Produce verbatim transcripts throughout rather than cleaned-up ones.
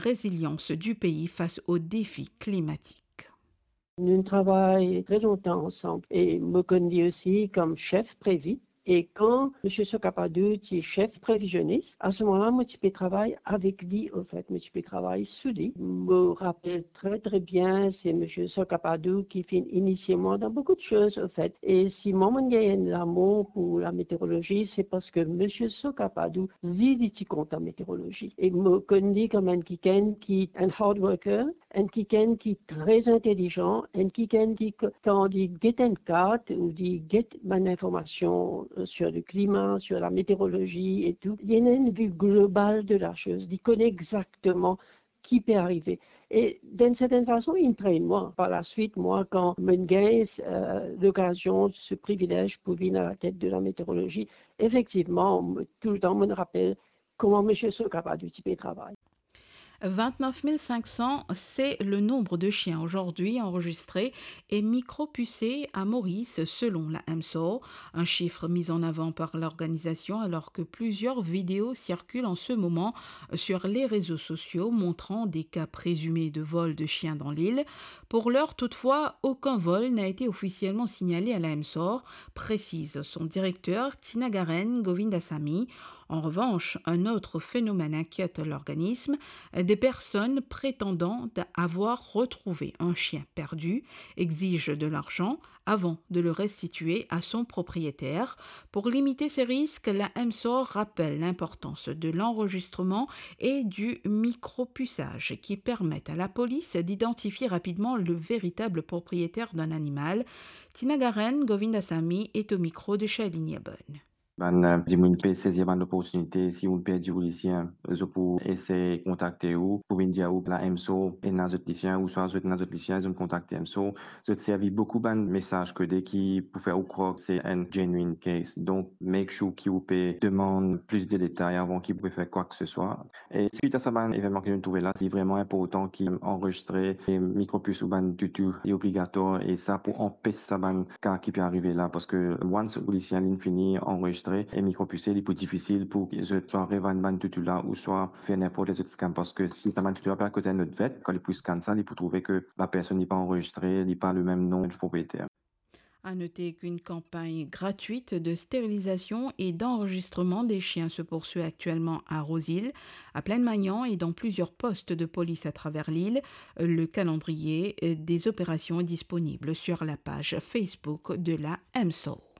résilience du pays face aux défis climatiques. Nou travay tre lontan ansam e mo konn li osi kom sef Prévit. E kan Misie Sokapadou ti sef Prévisionis, a se moman la mo ti pe travay avek li, anfet, mo ti pe travay sou li. Mo rapel tre, tre bien, se Misie Sokapadou ki finn inisie mwa dan boukou de soz, anfet. E si mwa, mo'nn gagn enn lamour pou lameteorolozi, se parski Misie Sokapadou, li, li ti kontan meteorolozi. E mo konn li kom enn kikenn ki enn hard worker, enn kikenn ki tre intelizan, enn kikenn ki, k-, kan li get enn kart ou li get bann informasion, euh, sur le climat, sur la météorologie et tout, li ena enn vi global de la chose, li kone exakteman ki pe arive. E, d'une certaine façon, li train mwa. Par la suite, mwa, kan mo'nn gagn, euh, lokazion, se privilez pou vinn a la tet de la meteorolozi, efektivman, mo, toultan, mo'nn rapel kouma Misie Sokapadou ti pe travay. Vingt-neuf mille cinq cents, c'est le nombre de chiens aujourd'hui enregistrés et micropusés à Maurice, selon la MSOR, un chiffre mis en avant par l'organisation, alors que plusieurs vidéos circulent en ce moment sur les réseaux sociaux montrant des cas présumés de vol de chiens dans l'île. Pour l'heure, toutefois, aucun vol n'a été officiellement signalé à la MSOR, précise son directeur, Tinagaren Govindasamy. En revanche, un autre phénomène inquiète l'organisme. Des personnes prétendant avoir retrouvé un chien perdu exigent de l'argent avant de le restituer à son propriétaire. Pour limiter ces risques, la MSOR rappelle l'importance de l'enregistrement et du micropuçage qui permettent à la police d'identifier rapidement le véritable propriétaire d'un animal. Tinagaren Govindasamy est au micro de Shailini Abon. Bann, eh, dimoun pe sezi bann loportinite, si ou perdi ou lisien, zot pou esey kontakte ou, pou vinn dir ou la MSOR ena zot lisien, ouswa zot ena zot lisien, zot kontakte MSOR. Zot servi boukou bann mesaz kode ki pou fer ou krwar se enn genuine case. Donk, make sure ki ou pe demann plis de detay avan ki ou pe fer kwa ke se swa. E swit a sa bann evennman ki nou trouve la, li vreman inportan ki anrezistre e mikropis ou bann toutou li obligatwar, e sa pou anpes sa bann ka ki pe arive la, parski once ou lisien linn fini anrezistre e mikropise, li pou difisil pou zot swa revann bann toutou la ouswa fer ninport ki zot scam, parski si sa bann toutou la pe al kot enn lot vet, kan li pou scan sa, li pou trouve ki la personn li pa anrezistre, li pa le mem nom du propriétaire. À noter qu'une campagne gratuite de stérilisation et d'enregistrement des chiens se poursuit actuellement à Rose-Île, à Plaine-Magnant et dans plusieurs postes de police à travers l'île. Le calendrier des opérations est disponible sur la page Facebook de la MSOR.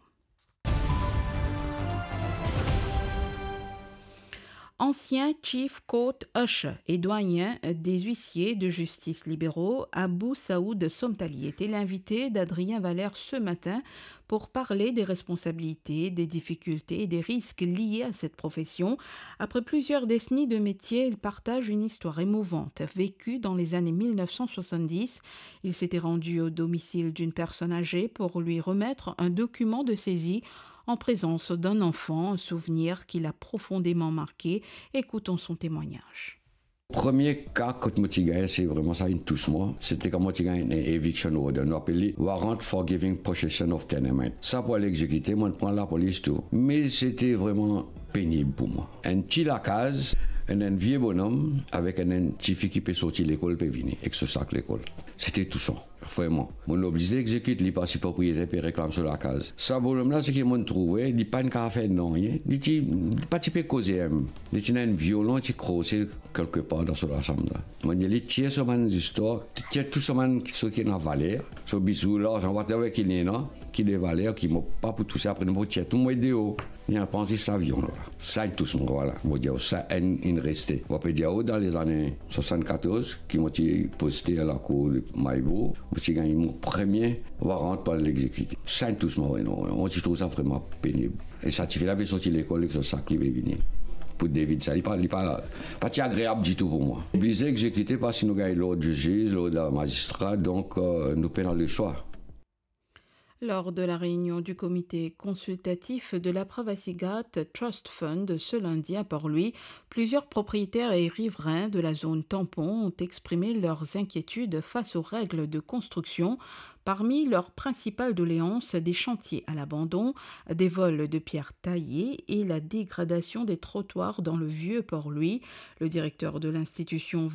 Ancien Chief Court Usher et doyen des huissiers de justice libéraux, Abou Saoud Somtali, était l'invité d'Adrien Valère ce matin pour parler des responsabilités, des difficultés et des risques liés à cette profession. Après plusieurs décennies de métier, il partage une histoire émouvante vécue dans les années mille neuf cent soixante-dix. Il s'était rendu au domicile d'une personne âgée pour lui remettre un document de saisie en présence d'un enfant, un souvenir qui l'a profondément marqué. Écoutons son témoignage. Premie ka kot mo ti gagn, se vreman sa inn tous mwa. Se te kan mo ti gagn enn eviction order. Nou apel li Warrant for Giving Possession of Tenement. Sa pou al egzekite, mo pran lapolis tou. Me se te vreman penib pou mwa. Enn ti lakaz, enn, enn vie bonom avek enn, enn tifi ki pe sorti lekol, pe vini ek so sak lekol. Se te tousan. Vreman. Mo oblize egzekit li parski propriyeter pe reklam so lakaz. Sa bonom la, seki mo trouve, li pa'nn kapav fer nanye. Li ti, li pa ti pe koze mem. Li ti ena enn violon, ti krose kelkepar dan so lasanm la. Mo dir li, tir so bann zistwar, tir tou so bann, seki ena valer, so bizou, larzan, whatever ki li ena, ki de valer, ki mo pa pou touse, apre nou pou tir tou, mo deor. Li al pran zis sa violon la. Sa inn tous mwa, vwala. Mo dir, sa enn inn reste. Mo pe dir, dan lezane swasann-katorz, ki mo ti poste lakour Maillebourg, mo ti gagn mo premie warant pou al egzekite. Sa inn tous mwa, wi, non, mo ti trouv sa vreman penib. E sa tifi la pe sorti lekol ek so sak, li pe vini. Pou David sa, li pa, li pa, pa ti agreab ditou pou mwa. Oblize egzekite parski nou gagn lord ziz, lord mazistra, donk, euh, nou pena leswa. Lors de la réunion du comité consultatif de la Pravasi Ghat Trust Fund ce lundi à Port-Louis, plusieurs propriétaires et riverains de la zone tampon ont exprimé leurs inquiétudes face aux règles de construction. Parmi leurs principales doléances, des chantiers à l'abandon, des vols de pierres taillées et la dégradation des trottoirs dans le vieux Port-Louis. Le directeur de l'institution